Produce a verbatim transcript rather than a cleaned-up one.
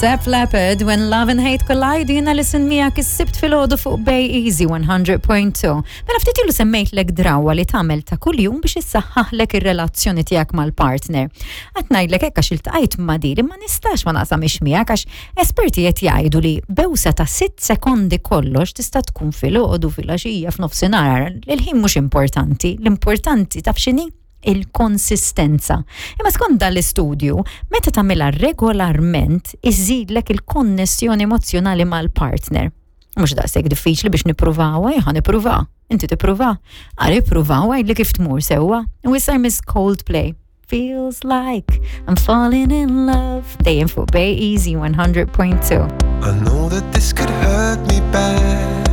Def Leppard, When Love and Hate Collide, jiena Alison miegħek is-Sibt filgħodu fuq Bay Easy one hundred point two. Mela ftit ilu semmejtlek drawwa li tagħmel ta' kuljum biex issaħħaħlek ir-relazzjoni tiegħek mal-partner. Qed ngħidlek hekk għax iltqajt ma' din, ma nistax ma naqsamix miegħek, għax esperti qed jgħidu li bewsa ta' sitt sekondi kollox, tista' tkun filgħodu, filgħaxija, f'nofsinhar. Il-ħin mhux importanti, l-importanti taf x'inhi? Il-konsistenza. Imma skont dal-istudju, meta tagħmilha regolarment, iżidlek il-konnessjoni emozjonali mal-partner. Mhux daqshekk diffiċli biex nippruvaw, ejja nippruva. Inti tippruva. Ara ippruvaw, għidli kif tmur sewwa. U issa Miss Coldplay. Feels Like I'm Falling in Love. Dejjem fuq Bay Easy one hundred point two. I know that this could hurt me bad.